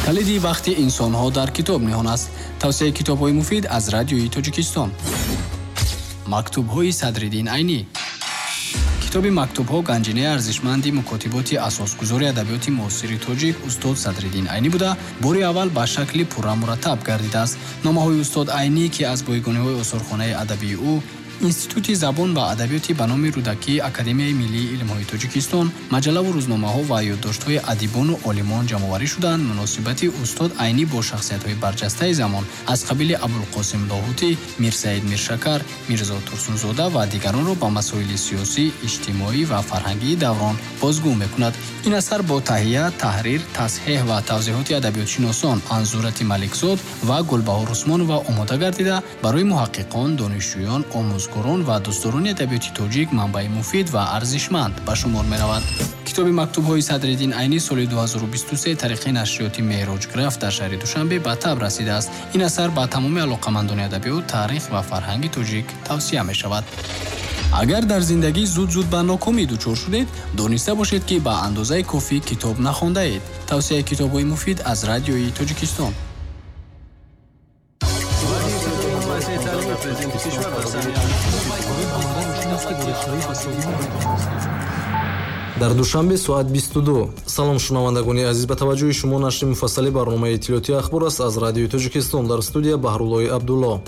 Калиди бахти инсонҳо дар китоб ниҳон аст. Тавсияи китобҳои муфид аз Радиои Тоҷикистон. Мактубҳои Садриддин Айнӣ. Китоби мактубҳо ганҷинаи арзишманди мукотиботи асосгузори адабиёти муосири тоҷик устод Садриддин Айнӣ буда, бори аввал ба шакли пурра мураттаб гардидааст. Номаҳои устод Айнӣ, ки аз бойгониҳои осорхонаи адабии ӯ, Институти забон ва адабиёти ба номи Рӯдакӣ, Академияи миллии илмҳои Тоҷикистон, маҷаллаву рӯзномаҳо ва ёддоштҳои адибону олимон ҷамъоварӣ шудаанд, муносибати устод Айнӣ бо шахсиятҳои барҷастаи замон аз қабили Абулқосим Лоҳутӣ, Мирсаид Миршакар, Мирзо Турсунзода ва дигаронро ба масоили сиёсӣ, иҷтимоӣ ва фарҳангии даврон бозгӯ мекунад. Ин асар бо таҳия, таҳрир, тасҳеҳ ва тавзеҳоти адабиётшиносон Анзурати Маликзод ва Гулбаҳор Усмонова омода гардида, барои муҳаққиқон, донишҷӯён, омӯзгорон ва дӯстдорони адабиёти тоҷик манбаи муфид ва арзишманд ба шумор меравад. Китоби мактубҳои Садриддин Айнӣ соли 2023 тариқи нашриёти Меҳроҷграф дар шаҳри Душанбе ба таб расидааст. Ин асар ба тамоми алоқамандони адабиёт, таърих ва фарҳанги тоҷик тавсия мешавад. Агар дар зиндагӣ зуд-зуд ба нокомӣ дучор шудед, дониста бошед, ки ба андозаи кофӣ китоб нахондаед. Тавсияи китобҳои муфид аз Радиои Тоҷикистон. Дар Душанбе соат 22. Салом, шунавандагони азиз, ба таваҷҷӯҳи шумо нашри муфассали барномаи иттилоотии ахбор аст аз Радиои Тоҷикистон. Дар студия Баҳруллои Абдулло.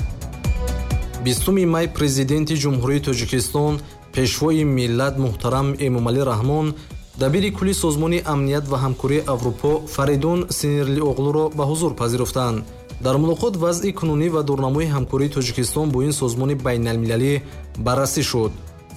20 май Президенти Ҷумҳурии Тоҷикистон, Пешвои миллат муҳтарам Эмомалӣ Раҳмон дабири кулли Созмони амният ва ҳамкории Аврупо Фаридун Синирлиоғлуро ба ҳузур пазируфтанд. Дар мулоқот вазъи кунунӣ ва дурнамои ҳамкории Тоҷикистон бо ин созмони байналмилалӣ баррасӣ шуд.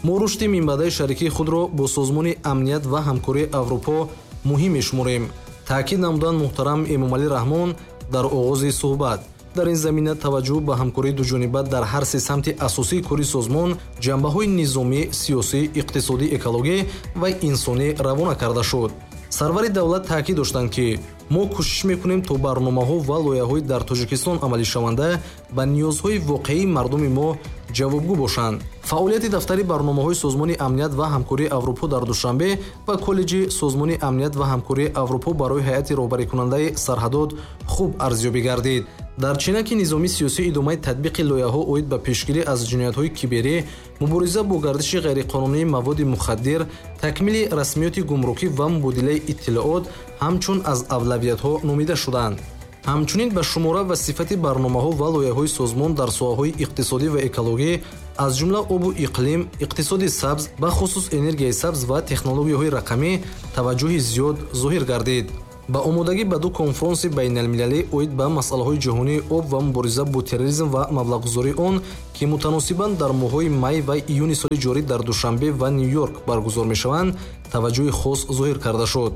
Мо рушди минбаъдаи шарикии худро бо Созмони амният ва ҳамкории Аврупо муҳим мешуморем, таъкид намуданд муҳтарам Эмомалӣ Раҳмон дар оғози суҳбат. Дар ин замина таваҷҷӯҳ ба ҳамкории дуҷониба дар ҳар се самти асосии кори созмон, ҷанбаҳои низомӣ, сиёсӣ, иқтисодӣ, экологӣ ва инсонӣ равона карда шуд. Сарвари давлат таъкид доштанд, ки мо кӯшиш мекунем, то барномаҳо ва лоиҳаҳои дар Тоҷикистон амалишаванда ба ниёзҳои воқеии мардуми мо ҷавобгӯ бошанд. Фаъолияти дафтари барномаҳои Созмони амният ва ҳамкории Аврупо дар Душанбе ва коллеҷи Созмони амният ва ҳамкории Аврупо барои ҳайати роҳбарикунандаи сарҳадот хуб арзёбӣ гардид. Дар чинаки низоми сиёсӣ идомаи татбиқи лоиҳаҳо оид ба пешгирӣ аз ҷиноятҳои киберӣ, мубориза бо гардиши ғайриқонунии маводи мухаддир, такмили расмиёти гумрукӣ ва мубодилаи иттилоот ҳамчун аз авлавиятҳо номида шуданд. Ҳамчунин ба шумора ва сифати барномаҳо ва лоиҳаҳои созмон дар соҳаҳои иқтисодӣ ва экологӣ, аз ҷумла обу иқлим, иқтисоди сабз, бахусус энергияи сабз ва технологияҳои рақамӣ таваҷҷӯҳи зиёд зоҳир гардид. Ба омодагӣ ба ду конфронси байналмилалӣ оид ба масъалаҳои ҷаҳонии об ва мубориза бо терроризм ва маблағгузории он, ки мутаносибан дар моҳҳои май ва июни соли ҷорӣ дар Душанбе ва Ню-Йорк баргузор мешаванд, таваҷҷӯҳи хос зоҳир карда шуд.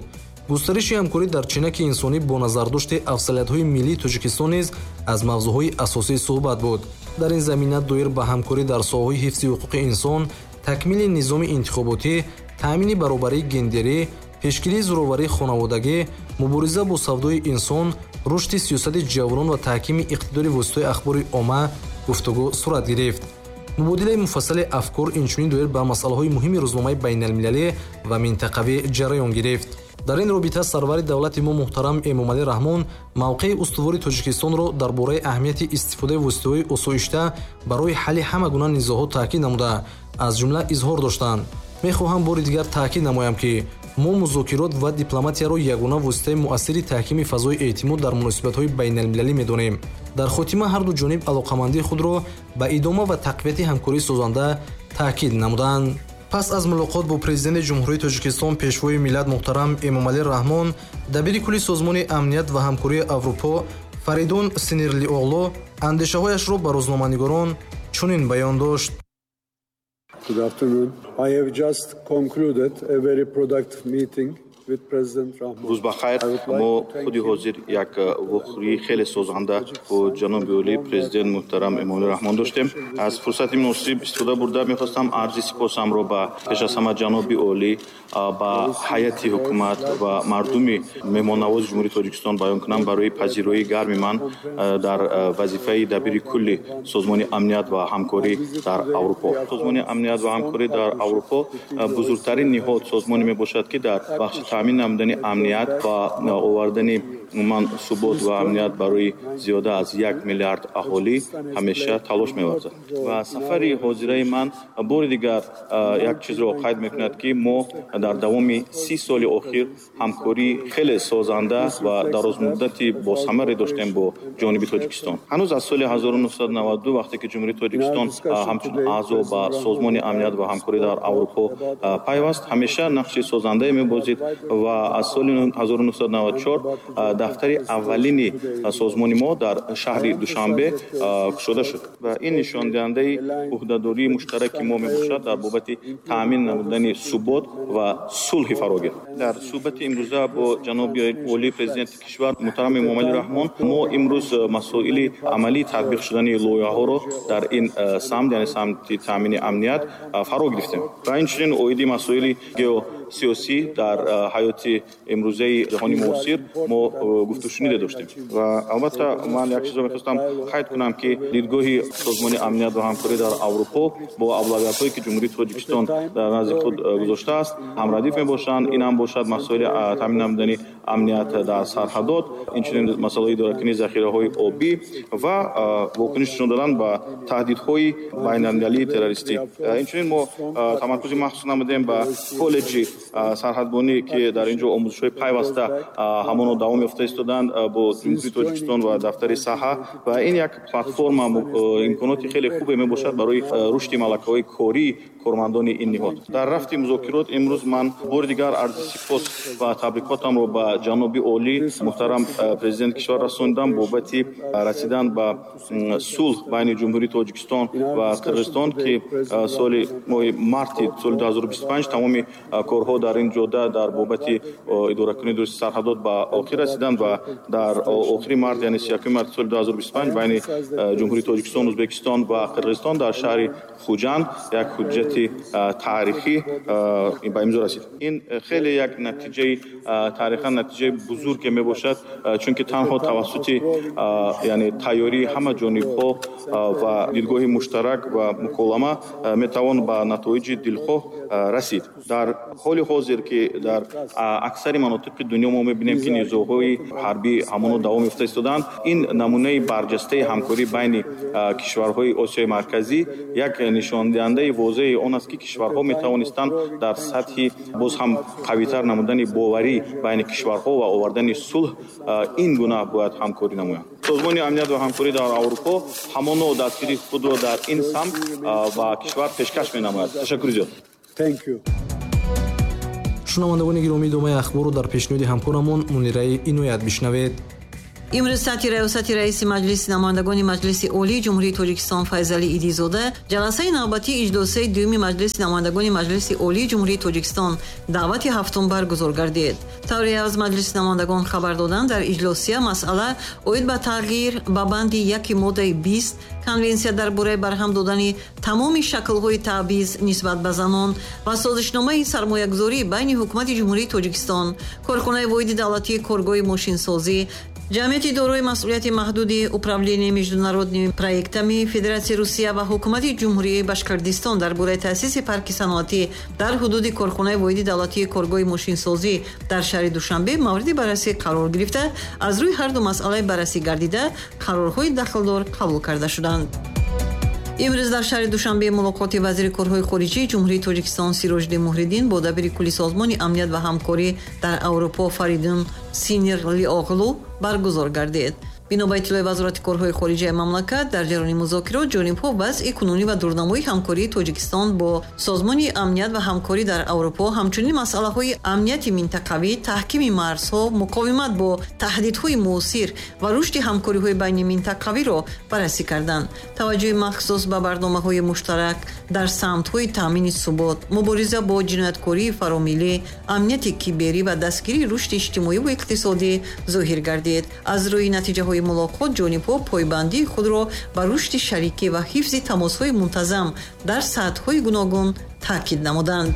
Густариши ҳамкорӣ дар чинаки инсонӣ бо назардошти афзалиятҳои миллии Тоҷикистон низ аз мавзӯъҳои асосии суҳбат буд. Дар ин замина доир ба ҳамкорӣ дар соҳаҳои ҳифзи ҳуқуқи инсон, такмили низоми интихоботӣ, таъмини баробарии гендерӣ, пешгирии зӯроварии хонаводагӣ, мубориза бо савдои инсон, рушди сиёсати ҷавонон ва таҳкими иқтидори воситаҳои ахбори омма гуфтугӯ сурат гирифт. Мубодилаи муфассали афкор инчунин доир ба масъалаҳои муҳими рӯзномаи байналмилалӣ ва минтақавӣ ҷараён гирифт. Дар ин робита сарвари давлати мо муҳтарам Эмомалӣ Раҳмон мавқеи устувори Тоҷикистонро дар бораи аҳамияти истифодаи воситаҳои осоишта барои ҳалли ҳама гуна низоъҳо таъкид намуда, аз ҷумла изҳор доштанд: мехоҳам бори дигар таъкид намоям, ки мо музокирот ва дипломатияро ягона воситаи муассири таҳкими фазои эътимод дар муносибатҳои байналмилалӣ медонем. Дар хотима ҳарду ҷониб алоқамандии худро ба идома ва тақвияти ҳамкории созанда таъкид намуданд. Пас аз мулоқот бо Президенти Ҷумҳурии Тоҷикистон, Пешвои миллат муҳтарам Эмомалӣ Раҳмон, дабири кулли Созмони амният ва ҳамкории Аврупо Фаридун Синирлиоғлу андешаҳояшро ба рӯзноманигорон чунин баён дошт. Good afternoon. I have just concluded a very productive meeting with President Rahmon. Рӯз ба хайр. Мо худи ҳозир як вохӯрии хеле созанда бо ҷаноби олӣ, Президент муҳтарам Эмомалӣ Раҳмон доштем. Аз фурсати муносиб истифода бурда, мехостам арзи сипосамро ба пеш аз ҳама ҷаноби олӣ, ба ҳайати ҳукумат ва мардуми меҳмоннавози Ҷумҳурии Тоҷикистон баён кунам барои пазироии гарми ман дар вазифаи дабири кулли Созмони амният ва ҳамкорӣ дар Аврупо. Созмони амният ва ҳамкорӣ дар Аврупо бузургтарин ниҳод, созмоне мебошад, ки дар бахши таъмин намудани амният ва овардани Умуман субот ва амният барои зиёда аз 1 миллиард аҳолӣ ҳамеша талош меварзад. Ва сафари ҳозираи ман бори дигар як чизро қайд мекунад, ки мо дар давоми 30 соли охир ҳамкории хеле созанда ва дарозмуддати босамаре доштем бо ҷониби Тоҷикистон. Ҳанӯз аз соли 1992, вақте ки Ҷумҳурии Тоҷикистон ҳамчун аъзо ба Созмони амният ва ҳамкорӣ дар Аврупо пайваст, ҳамеша нақши созандае мебозид ва аз соли 1994 дафтари аввалини созмони мо дар шаҳри Душанбе кушода шуд. Ва ин нишондиҳандаи ӯҳдадории муштараки мо мебошад дар бобати таъмин намудани субот ва сулҳи фарогир. Дар суҳбати имрӯза бо ҷаноби олии президенти кишвар муҳтарам Эмомалӣ Раҳмон мо имрӯз масоили амалии татбиқ шудани лоиҳаҳоро дар ин самт, яъне самти таъмини амният, фаро гирифтем. Ва инчунин оиди масоили геосиёсӣ дар ҳаёти имрӯзаи ҷаҳони муосир мо гуфтушуниде доштем. Ва албатта ман як чизро мехостам қайд кунам, ки дидгоҳи Созмони амният ва ҳамкорӣ дар Аврупо бо авлавиятҳое, ки Ҷумҳурии Тоҷикистон дар назди худ гузоштааст, ҳамрадиф мебошанд. Ин ҳам бошад масоили таъмин намудани амният дар сарҳадот, инчунин масъалаи идоракунии захираҳои обӣ ва вокуниш нишон додан ба таҳдидҳои байналмилалии террористӣ. Инчунин мо тамаркузи махсус намудем ба коллеҷи сарҳадбонӣ, ки дар ин ҷо омӯзишҳои пайваста ҳамоно давом ёфта истоданд бо Ҷумҳурии Тоҷикистон ва дафтари саҳа. Ва ин як платформа, имконоти хеле хубе мебошад барои рушди малакаҳои кории кормандони ин ниҳод. Дар рафти музокирот имрӯз ман бори дигар арзи сипос ва табрикотамро ба ҷаноби олӣ муҳтарам президенти кишвар расондам бобати расидан ба сулҳ байни Ҷумҳурии Тоҷикистон ва Қирғизистон, ки соли моҳи марти соли 2025 тамоми корҳо дар ин ҷода дар бобати идоракунии дурусти сарҳадот ба охир расиданд ва дар охири март, яъне 31 марти соли 2025 байни Ҷумҳурии Тоҷикистон, Ӯзбекистон ва Қирғизистон дар шаҳри Хуҷанд як ҳуҷҷати таърихӣ ба имзо расид. Ин хеле як натиҷаи таърихан натиҷаи бузурге мебошад, чунки танҳо тавассути яъне тайёрии ҳама ҷонибҳо ва дидгоҳи муштарак ва муколама метавон ба натоиҷи дилхоҳ расид. Дар ҳоли ҳозир, ки дар аксари манотиқи дунё мо мебинем, ки низоъҳои ҳарбӣ ҳамоно давом ёфта истоданд, ин намунаи барҷастаи ҳамкорӣ байни кишварҳои Осиёи Марказӣ як нишондиҳандаи возеҳи он аст, ки кишварҳо метавонистанд дар сатҳи боз ҳам қавитар намудани боварӣ байни кишварҳо ва овардани сулҳ ин гуна бояд ҳамкорӣ намоянд. Созмони амният ва ҳамкорӣ дар Аврупо ҳамоно дастгирии худро дар ин самт ба кишвар пешкаш менамояд. Ташаккури зиёд. Thank you. Шунавандагони гиромӣ, идомаи ахборро дар пешниҳоди ҳамкорамон Мунираи Иноят бишнавед. Имрӯз таҳти раёсати раиси Маҷлиси намояндагони Маҷлиси Олии Ҷумҳурии Тоҷикистон Файзалӣ Идизода ҷаласаи навбатии иҷлосияи дуюми Маҷлиси намояндагони Маҷлиси Олии Ҷумҳурии Тоҷикистон даъвати ҳафтум баргузор гардид. Тавре аз Маҷлиси намояндагон хабар доданд, дар иҷлосия масъала оид ба тағйир ба банди яки моддаи 20 Конвенсия дар бораи барҳам додани тамоми шаклҳои таъбиз нисбат ба занон ва созишномаи сармоягузорӣ байни Ҳукумати Ҷумҳурии Тоҷикистон, корхонаи воҳиди давлатии коргоҳи мошинсозӣ, Ҷамъияти дорои масъулияти маҳдуди Управления международными проектами Федератсияи Русия ва Ҳукумати Ҷумҳурии Башқирдистон дар бораи таъсиси парки саноатӣ дар ҳудуди корхонаи воҳиди давлатии коргоҳи мошинсозӣ дар шаҳри Душанбе мавриди баррасӣ қарор гирифта, аз рӯи ҳарду масъалаи баррасӣ гардида қарорҳои дахлдор қабул карда шуданд. Имрӯз дар шаҳри Душанбе мулоқоти вазири корҳои хориҷии Ҷумҳурии Тоҷикистон Сироҷиддин Муҳриддин бо дабири кулли Созмони амният ва ҳамкорӣ дар Аврупо Фаридун Синирлиоғлу баргузор гардид. Бино ба иттилои Вазорати корҳои хориҷаи мамлакат, дар ҷараёни музокирот ҷонибҳо вазъи кунунӣ ва дурнамои ҳамкории Тоҷикистон бо Созмони амният ва ҳамкорӣ дар Аврупо, ҳамчунин масъалаҳои амнияти минтақавӣ, таҳкими марзҳо, муқовимат бо таҳдидҳои муосир ва рушди ҳамкориҳои байниминтақавиро баррасӣ карданд. Таваҷҷӯҳи махсус ба барномаҳои муштарак дар самтҳои таъмини субот, мубориза бо ҷинояткории фаромиллӣ, амнияти киберӣ ва дастгирии рушди иҷтимоӣ ва иқтисодӣ зоҳир гардид. Аз рӯи натиҷаҳои мулоқот ҷонибҳо пойбандии худро ба рушди шарикӣ ва ҳифзи тамосҳои мунтазам дар сатҳҳои гуногун таъкид намуданд.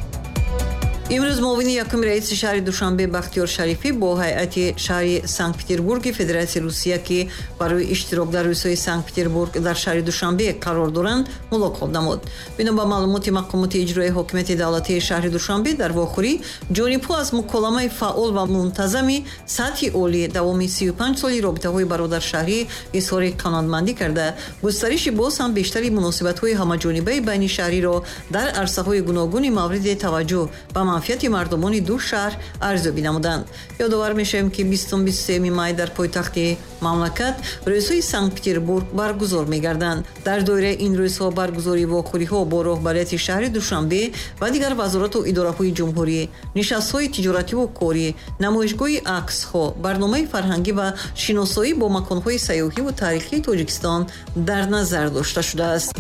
Имрӯз муовини якуми раиси шаҳри Душанбе Бахтиёр Шарифӣ бо ҳайати шаҳри Санкт-Петербурги Федератсияи Русия, ки барои иштирок дар рӯзҳои Санкт-Петербург дар шаҳри Душанбе қарор доранд, мулоқот намуд. Бино ба маълумоти мақомоти иҷроии ҳокимияти давлатии шаҳри Душанбе, дар вохӯрӣ ҷонибҳо аз муколамаи фаъол ва мунтазами сатҳи олӣ давоми 35 соли робитаҳои бародаршаҳрӣ изҳори қаноатмандӣ карда, густариши боз ҳам бештари муносибатҳои ҳамаҷонибаи байни шаҳриро дар арсаҳои гуногуни мавриди таваҷҷӯҳ ба манфиати мардумони ду шаҳр арзёбӣ намуданд. Ёдовар мешавем, ки 23 май дар пойтахти мамлакат рӯзҳои Санкт-Петербург баргузор мегарданд. Дар доираи ин рӯзҳо баргузории вохӯриҳо бо роҳбарияти шаҳри Душанбе ва дигар вазорату идораҳои ҷумҳурӣ, нишастҳои тиҷоративу корӣ, намоишгоҳи аксҳо, барномаи фарҳангӣ ва шиносоӣ бо маконҳои сайёҳиву таърихии Тоҷикистон дар назар дошта шудааст.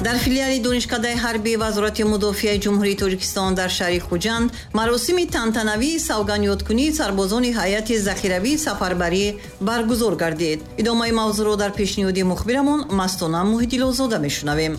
Дар филиали Донишкадаи ҳарбии Вазорати мудофиаи Ҷумҳурии Тоҷикистон дар шаҳри Хуҷанд маросими тантанавии савгандёдкунии сарбозони ҳайати захиравии сафарбарӣ баргузор гардид. Идомаи мавзӯъро дар пешниҳоди мухбирамон Мастона Муҳиддилозода мешунавем.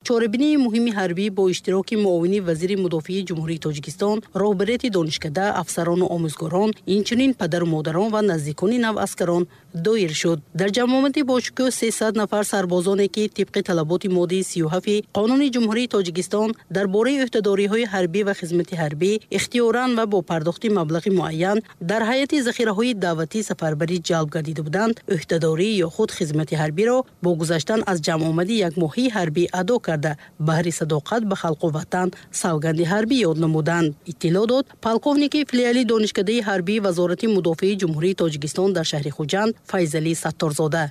Чорабинии муҳими ҳарбӣ бо иштироки муовини вазири мудофиаи Ҷумҳурии Тоҷикистон, роҳбарияти донишкада, афсарону омӯзгорон, инчунин падару модарон ва наздикони наваскарон доир шуд. Дар ҷамъомади бошукӯҳ 300 нафар сарбозоне, ки тибқи талаботи моддаи 37 Қонуни Ҷумҳурии Тоҷикистон дар бораи ӯҳдадориҳои ҳарбӣ ва хизмати ҳарбӣ ихтиёран ва бо пардохти маблағи муайян дар ҳайати захираҳои даъватӣ сафарбарӣ ҷалб гардида буданд, ӯҳдадорӣ ё худ хизмати ҳарбиро бо гузаштан аз ҷамъомади якмоҳии ҳарбӣ адо карда, баҳри садоқат ба халқу ватан савганди ҳарбӣ ёд намуданд. Иттилоъ дод полковники филиали Донишкадаи ҳарбии Вазорати мудофиаи Ҷумҳурии Тоҷикистон дар шаҳри Хуҷанд Файзалӣ Сатторзода.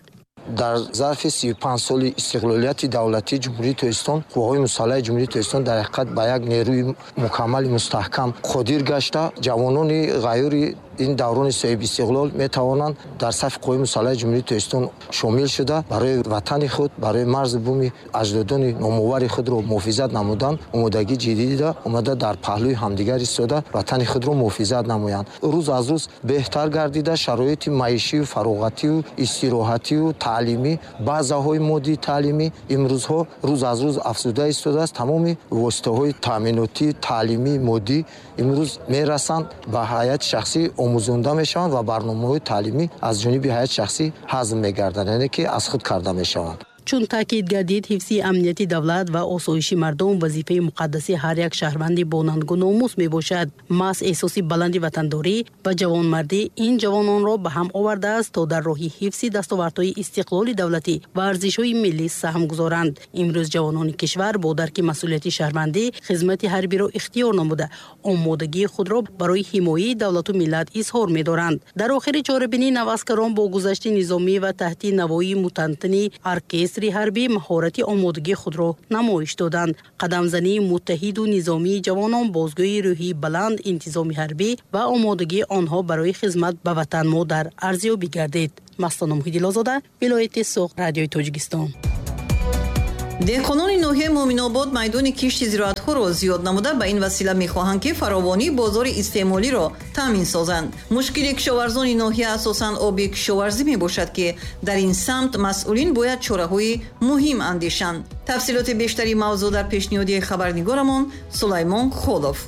Дар зарфи 35 соли истиқлолияти давлатии Ҷумҳурии Тоҷикистон қувваҳои мусаллаҳи Ҷумҳурии Тоҷикистон дар ҳақиқат ба як нерӯи мукаммали мустаҳкам қодир гашта, ҷавонони ғайюри ин даврони соҳибистиқлол метавонанд дар сафи қувваҳои мусаллаҳи Ҷумҳурии Тоҷикистон шомил шуда, барои ватани худ, барои марзу буми аҷдодони номовари худро муҳофизат намудан омодагӣ ҷиддӣ дида, омада дар паҳлӯи ҳамдигар истода ватани худро муҳофизат намоянд. Рӯз аз рӯз беҳтар гардида шароити маишию фароғатию истироҳатию таълимӣ, базаҳои моддии таълимӣ имрӯзҳо рӯз аз рӯз афзуда истодааст. Тамоми воситаҳои таъминотӣ, таълимӣ, моддӣ имрӯз мерасанд ба ҳайати шахсӣ, омӯзонда мешаванд ва барномаҳои таълимӣ аз ҷониби ҳайати шахсӣ ҳазм мегарданд, яъне ки аз худ карда мешаванд. Чун таъкид гардид, ҳифзи амнияти давлат ва осоиши мардум вазифаи муқаддаси ҳар як шаҳрванди бо нангу номус мебошад. Маҳз эҳсоси баланди ватандорӣ ва ҷавонмардӣ ин ҷавононро ба ҳам овардааст, то дар роҳи ҳифзи дастовардҳои истиқлоли давлатӣ ва арзишҳои миллӣ саҳм гузоранд. Имрӯз ҷавонони кишвар бо дарки масъулияти шаҳрвандӣ хизмати ҳарбиро ихтиёр намуда, омодагии худро барои ҳимояи давлату миллат изҳор медоранд. Дар охири чорабинӣ наваскарон бо гузашти низомӣ ва таҳти навои мутантани оркестри ҳарбӣ маҳорати омодагии худро намоиш доданд. Қадамзании муттаҳиду низомии ҷавонон бозгӯи рӯҳии баланд, интизоми ҳарбӣ ва омодагии онҳо барои хизмат ба ватан модар арзёбӣ гардид. Мастона Муҳиддилозода, вилояти Суғд, Радиои Тоҷикистон. Деҳқонони ноҳияи Муъминобод майдони кишти зироатҳоро зиёд намуда, ба ин васила мехоҳанд, ки фаровонии бозори истеъмолиро таъмин созанд. Мушкили кишоварзони ноҳия асосан оби кишоварзӣ мебошад, ки дар ин самт масъулин бояд чораҳои муҳим андешанд. Тафсилоти бештари мавзӯъ дар пешниҳоди хабарнигорамон Сулаймон Холов.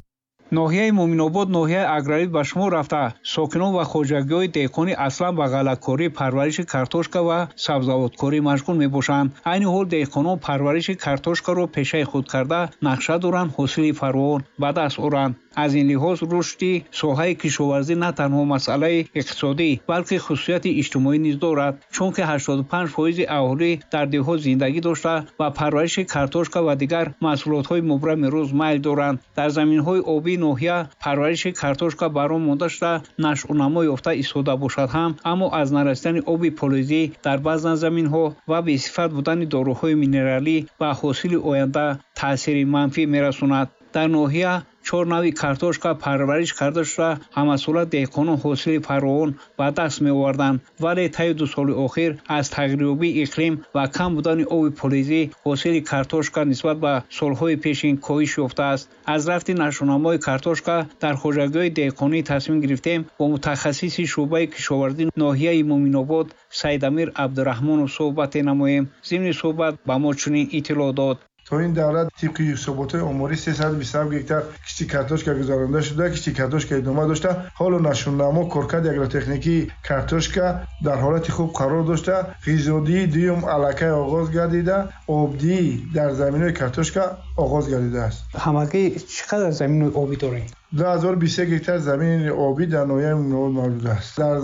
Ноҳияи Муъминобод ноҳияи аграрӣ ба шумор рафта, сокинон ва хоҷагиҳои деҳқонӣ аслан ба ғаллакорӣ, парвариши картошка ва сабзавоткорӣ машғул мебошанд. Айни ҳол деҳқонон парвариши картошкаро пешаи худ карда, нақша доранд ҳосили фаровон ба даст оранд. Аз ин лиҳоз рушди соҳаи кишоварзӣ на танҳо масъалаи иқтисодӣ, балки хусусияти иҷтимоӣ низ дорад, чунки 85% аҳолӣ дар деҳот зиндагӣ дошта ва парвариши картошка ва дигар маҳсулотҳои мубрами рӯз майл доранд. Дар заминҳои обии ноҳия парвариши картошка бар он монда шуда, нашъунамо ёфта истода бошад ҳам, аммо аз нарасидани оби полизӣ дар баъзан заминҳо ва бесифат будани доруҳои минералӣ ба ҳосили оянда таъсири манфӣ мерасонад. Дар ноҳия 4 нави картошка парвариш карда шуда, ҳамасола деҳқонон ҳосили фаровон ба даст меоварданд, вале таи 2 соли охир аз тағйирёбии иқлим ва кам будани оби полизӣ ҳосили картошка нисбат ба солҳои пешин коҳиш ёфтааст. Аз рафти нашъунамои картошка дар хоҷагиҳои деҳқонӣ тасмим гирифтем бо мутахассиси шӯъбаи кишоварзии ноҳияи Муъминобод Саидамир Абдураҳмонов суҳбате намоем. Зимни суҳбат ба мо чунин иттилоъ дод. То ин давра тибқи ҳисоботҳои оморӣ 327 гектар кишти картошка гузаронида шуда, кишти картошка идома дошта. Ҳоло нашъунамо коркарди агротехникии картошка дар ҳолати хуб қарор дошта, ғизодиҳии дуюм аллакай оғоз гардида, обдиҳӣ дар заминҳои картошка оғоз гардидааст. Ҳамагӣ чӣ қадар замини обӣ дорем? 2023 гектар замини обӣ дар ноҳияи Мӯминобод мавҷуд аст. Дар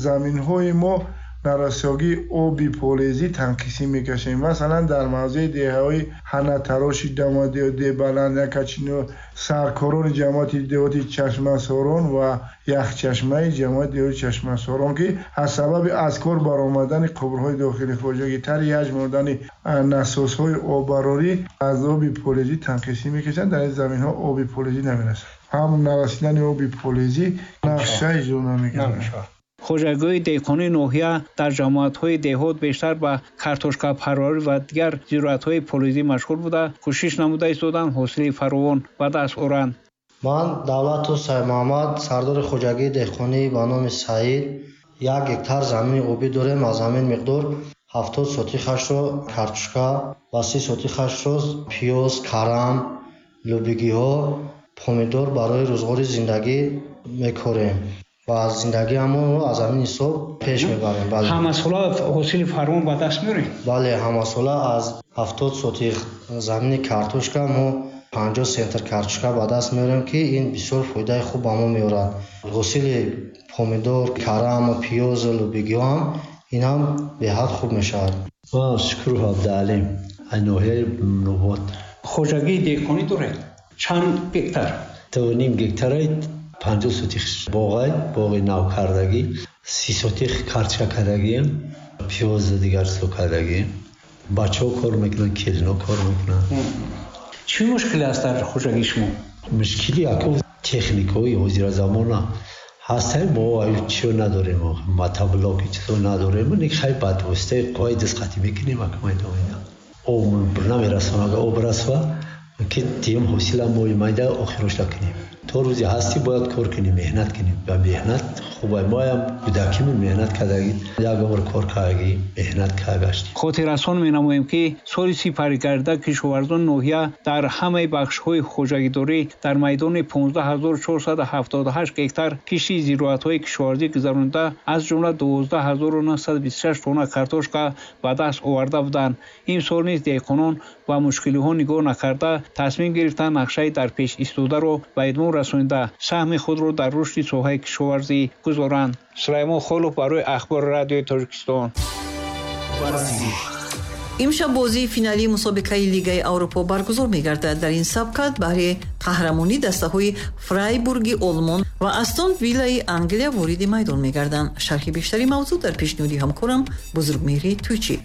заминҳои мо нарасогии оби полезӣ танқисӣ мекашем. Масалан, дар мавзеи деҳаҳои Ҳанатароши, Дамадебаланд, Якачино, саркорони ҷамоати деҳоти Чашмасорон ва Яхчашмаи ҷамоати деҳоти Чашмасорон, ки аз сабаби аз кор баромадани қубурҳои дохили хоҷагӣ, тари ҳаҷм мондани насосҳои оббарорӣ аз оби полезӣ танқисӣ мекашанд. Дар ин заминҳо оби полезӣ намерасад. Ҳам нарасидани оби полезӣ нақша иҷро намекунад. Хоҷагиҳои деҳқонии ноҳия дар ҷамоатҳои деҳот бештар ба картошкапарварӣ ва дигар зироатҳои полизӣ машғул буда, кӯшиш намуда истоданд ҳосили фаровон ба даст оранд. Ман Давлату Саймуҳаммад, сардори хоҷагии деҳқонӣ ба номи Саид, 1 гектар замини обӣ дорем. Аз ҳамин миқдор 70 сотихашро картошка ва 30 сотихашро пиёз, карам, лӯбигиҳо, помидор барои рӯзғори зиндагӣ мекорем ва зиндагиамонро аз ҳамин ҳисоб пеш мебарем. Ҳамасола ҳосили фаровон ба даст меорем? Бале, ҳамасола аз 70 сотих замини картошка мо 50 центр картошка ба даст меорем, ки ин бисёр фоидаи хуб ба мо меорад. Ҳосили помидор, карам, пиёз, лӯбигиҳо ҳам ин ҳам беҳад хуб мешавад. Ман Шукуров Абдуалим, аз ноҳияи Мӯминобод. Хоҷагии деҳқонӣ доред? Чанд гектар? 2.5 гектараи 50 сотих боғай, боғи навкардагӣ, 30 сотих картошка кардагием, пиёз дигар чизо кардагием. Бачаҳо кор мекунанд, келино кор мекунанд. Чӣ мушкиле аст дар хоҷагии шумо? Мушкили яко техникаҳои ҳозира замона ҳастаи мо чиё надорем, мотоблоки чизо надорем, хай бад воситаи қувваи дастхатӣ мекунем, акмайдоина. Об намерасонад, агар об расва, ки дим ҳосила мои майда охирошта кунем. То рӯзе ҳастӣ бояд кор кунем, меҳнат кунем. Ба меҳнат хубай. Моям кӯдакимон меҳнат кардагӣ, як умр кор кардагӣ, меҳнат кардагаштем. Хотиррасон менамоем, ки соли сипаригардида кишоварзони ноҳия дар ҳамаи бахшҳои хоҷагидорӣ дар майдони 15478 гектар кишти зироатҳои кишоварзӣ гузаронида, аз ҷумла 12926 тонна картошка ба даст оварда буданд. Имсол низ деҳқонон ба мушкилиҳо нигоҳ накарда тасмим гирифтанд нақшаи дар пеш истодаро ба идмом расонида, саҳми худро дар рушди соҳаи кишоварзӣ гузоранд. Сулаймон Холов барои Ахбори радиои Тоҷикистон. Имшаб бозии финалии мусобиқаи Лигаи Аврупо баргузор мегардад. Дар ин сабқат баҳри қаҳрамонӣ дастаҳои Фрайбурги Олмон ва Астон Виллаи Англия вориди майдон мегарданд. Шарҳи бештари мавзӯъ дар пешниҳоди ҳамкорам Бузургмеҳри Тӯйчӣ.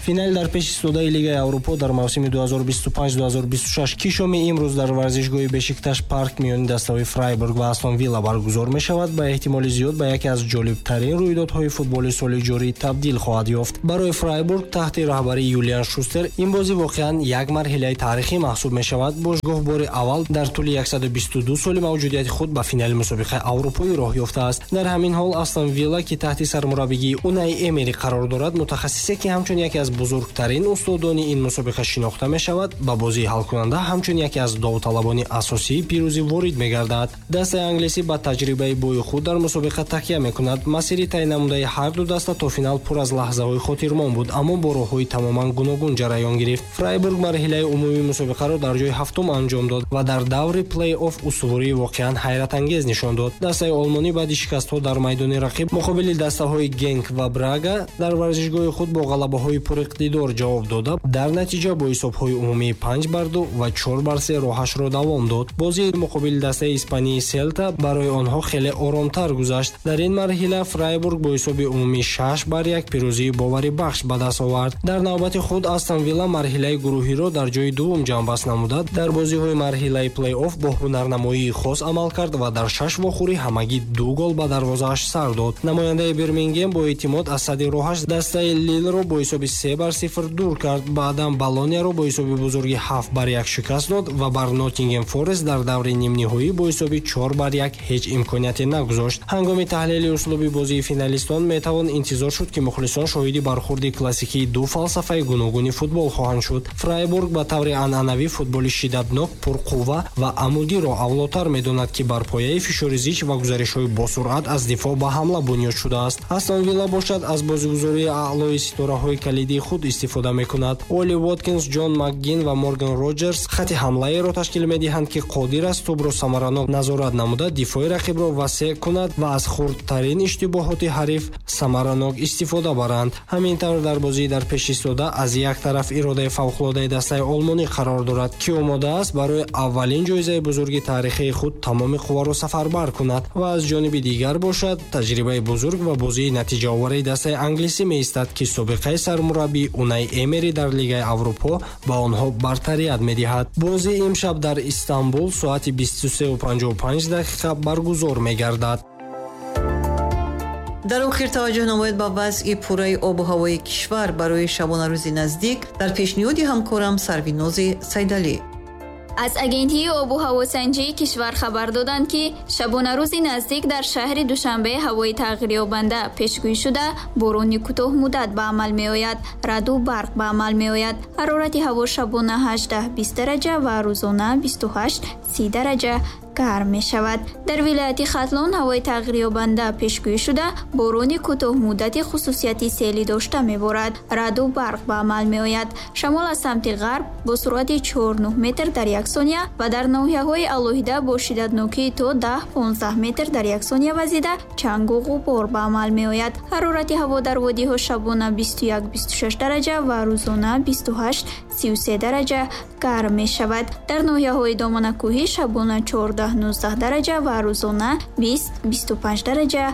Финал дар пеши истодаи Лигаи Аврупо дар мавсими 2025-2026, ки шоми имрӯз дар варзишгоҳи Бешикташ парк миёни дастаҳои Фрайбург ва Астон Вилла баргузор мешавад, ба эҳтимоли зиёд ба яке аз ҷолибтарин рӯйдодҳои футболи соли ҷорӣ табдил хоҳад ёфт. Барои Фрайбург таҳти раҳбарии Юлиан Шустер ин бозӣ воқеан як марҳилаи таърихӣ маҳсуб мешавад. Бошгоҳ бори аввал дар тӯли 122 соли мавҷудияти худ ба финали мусобиқаи аврупоӣ роҳ ёфтааст. Дар ҳамин ҳол Астон Вилла, ки таҳти сармураббигии Унай Эмери қарор дорад, мутахассисе ки ҳамчун яке аз бузургтарин устодони ин мусобиқа шинохта мешавад, ба бозии ҳалкунанда ҳамчун яке аз довталабони асосии пирӯзӣ ворид мегардад. Дастаи англисӣ ба таҷрибаи бои худ дар мусобиқа такя мекунад. Масири тай намудаи ҳар ду даста то финал пур аз лаҳзаҳои хотирмон буд, аммо бо роҳҳои тамоман гуногун ҷараён гирифт. Фрайбург марҳилаи умумии мусобиқаро дар ҷои ҳафтум анҷом дод ва дар даври плей-офф устувории воқеан ҳайратангез нишон дод. Дастаи олмонӣ баъди шикастҳо дар майдони рақиб муқобили дастаҳои Генк ва Брага дар варзишгоҳи худ бо ғалабаҳои пуриқтидор ҷавоб дода, дар натиҷа бо ҳисобҳои умумии 5-2 ва 4-3 роҳашро давом дод. Бозии муқобили дастаи испании Селта барои онҳо хеле оромтар гузашт. Дар ин марҳила Фрайбург бо ҳисоби умумии 6-1 пирӯзии боварибахш ба даст овард. Дар навбати худ Астон Вилла марҳилаи гурӯҳиро дар ҷои дуввум ҷамъбаст намуда, дар бозиҳои марҳилаи плей-офф бо ҳунарнамоии хос амал кард ва дар 6 вохӯрӣ ҳамагӣ 2 гол ба дарвозааш сар дод. Намояндаи Бирмингем бо эътимод аз сади роҳаш дастаи Лилро бо ҳисоби 3-0 дур кард. Баъдан Болонияро бо ҳисоби бузурги 7-1 шикаст дод ва бар Ноттингем Форест дар даври нимниҳоӣ бо ҳисоби 4-1 ҳеҷ имконияте нагузошт. Ҳангоми таҳлили услуби бозии финалистон метавон интизор шуд, ки мухлисон шоҳиди бархурди классикии ду фалсафаи гуногуни футбол хоҳанд шуд. Фрайбург ба таври анъанавӣ футболи шиддатнок, пурқувва ва амудиро авлотар медонад, ки бар пояи фишори зич ва гузаришҳои босуръат аз дифоъ ба ҳамла бунёд шудааст. Астон Вилла бошад, аз бозигузории аълои ситораҳои калидии худ истифода мекунад. Оли Воткинс, Ҷон Макгин ва Морган Роҷерс хати ҳамлаеро ташкил медиҳанд, ки қодир аст тӯбро самаранок назорат намуда, дифои рақибро васеъ кунад ва аз хурдтарин иштибоҳоти ҳариф самаранок истифода баранд. Ҳамин тавр, дар бозии дар пеш истода аз як тараф иродаи фавқулодаи дастаи олмонӣ қарор дорад, ки омода аст барои аввалин ҷоизаи бузурги таърихии худ тамоми қувваро сафарбар кунад, ва аз ҷониби дигар бошад, таҷрибаи бузург ва бозии натиҷаовари дастаи англисӣ меистад, ки собиқаи сармураббӣ Унай Эмери дар Лигаи Аврупо ба онҳо бартарият медиҳад. Бозии имшаб дар Истанбул соати 23:55 дақиқа баргузор мегардад. Дар охир таваҷҷӯҳ намоед ба вазъи пурраи обу ҳавои кишвар барои шабонарӯзи наздик дар пешниҳоди ҳамкорам Сарвинози Сайдалӣ. Аз агентии обу ҳавосанҷии кишвар хабар доданд, ки шабонарӯзи наздик дар шаҳри Душанбе ҳавои тағйирёбанда пешгӯӣ шуда, борони кӯтоҳмуддат ба амал меояд, раъду барқ ба амал меояд. Ҳарорати ҳаво шабона 18-20 дараҷа ва рӯзона 28-30 дараҷа гарм мешавад. Дар вилояти Хатлон ҳавои тағйирёбанда пешгӯӣ шуда, борони кӯтоҳмуддати хусусияти селӣ дошта меборад, раъду барқ ба амал меояд. Шамол аз самти ғарб бо суръати 4,9 метр дар як сония ва дар ноҳияҳои алоҳида бо шиддатнокии то 10-15 метр дар як сония вазида, чангу ғубор ба амал меояд. Ҳарорати ҳаво дар водиҳо шабона 21-26 дараҷа ва рӯзона 28-33 дараҷа гарм мешавад. Дар ноҳияҳои доманакӯҳӣ шабона 14-19 дараҷа ва рӯзона 20-25 дараҷа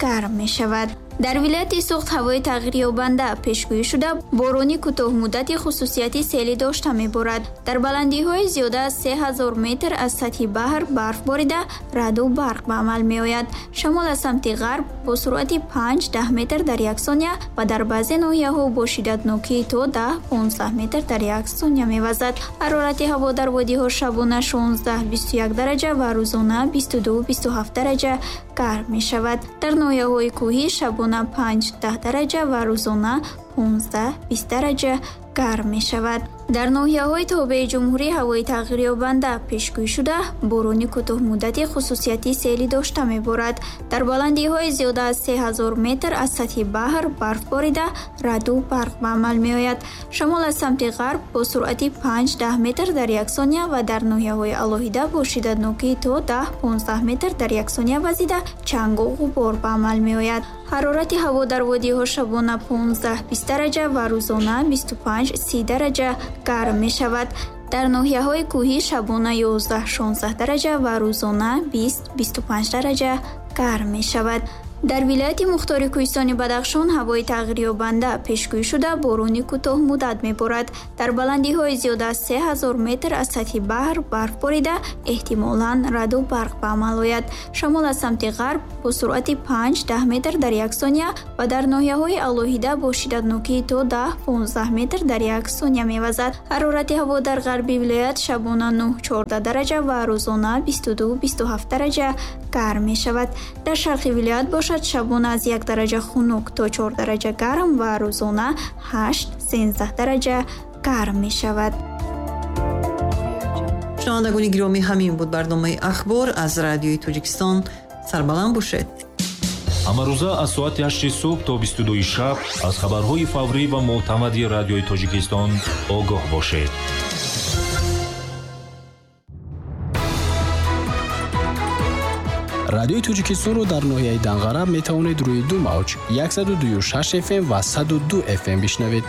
гарм мешавад. Дар вилояти Суғд ҳавои тағйирёбанда пешгӯӣ шуда, борони кӯтоҳмуддати хусусияти селӣ дошта меборад. Дар баландиҳои зиёда аз 3000 метр аз сатҳи баҳр барф борида, раъду барқ ба амал меояд. Шамол аз самти ғарб бо суръати 5-10 метр дар як сония ва дар баъзе ноҳияҳо бо шиддатнокии то 10-15 метр дар як сония мевазад. Ҳарорати ҳаво дар водиҳо шабона 16-21 дараҷа ва рӯзона 22-27 дараҷа гарм мешавад. Дар ноҳияҳои кӯҳӣ шабона 5-10 дараҷа ва рӯзона 15-20 дараҷа гарм мешавад. Дар ноҳияҳои тобеи ҷумҳурӣ ҳавои тағйирёбанда пешгӯӣ шуда, борони кӯтоҳмуддати хусусияти селӣ дошта меборад. Дар баландиҳои зиёда аз 3000 метр аз сатҳи баҳр барф борида, раъду барқ ба амал меояд. Шамол аз самти ғарб бо суръати 5-10 метр дар як сония ва дар ноҳияҳои алоҳида бо шиддатнокии то 10-15 метр дар як сония вазида, чангу ғубор ба амал меояд. Ҳарорати ҳаво дар водиҳо шабона 15-20 дараҷа ва рӯзона 25-30 дараҷа гарм мешавад. Дар ноҳияҳои кӯҳӣ шабона 11-16 дараҷа ва рӯзона 20-25 дараҷа гарм мешавад. Дар вилояти мухтори кӯҳистони Бадахшон ҳавои тағйирёбанда пешгӯӣ шуда, борони кӯтоҳмуддат меборад. Дар баландиҳои зиёда аз 3000 метр аз сатҳи баҳр барф борида, эҳтимолан раъду барқ ба амал ояд. Шамол аз самти ғарб бо суръати 5-10 метр дар як сония ва дар ноҳияҳои алоҳида бо шиддатнокии то 10-15 метр дар як сония мевазад. Ҳарорати ҳаво дар ғарби вилоят шабона 9-14 дараҷа ва рӯзона 22-27 дараҷа гарм мешавад. Дар шарқи вилоят бошад, шабона аз 1 дараҷа хунук то 4 дараҷа гарм ва рӯзона 8-13 дараҷа гарм мешавад. Шунавандагони гиромӣ, ҳамин буд барномаи Ахбор аз Радиои Тоҷикистон. Сарбаланд бошед. Ҳамарӯза аз соати 8 субҳ то 22 шаб аз хабарҳои фаврӣ ва мӯътамади Радиои Тоҷикистон огоҳ бошед. Радиои Тоҷикистонро дар ноҳияи Данғара метавонед рӯи ду мавҷ 102.6 FM ва 102 FM бишнавед.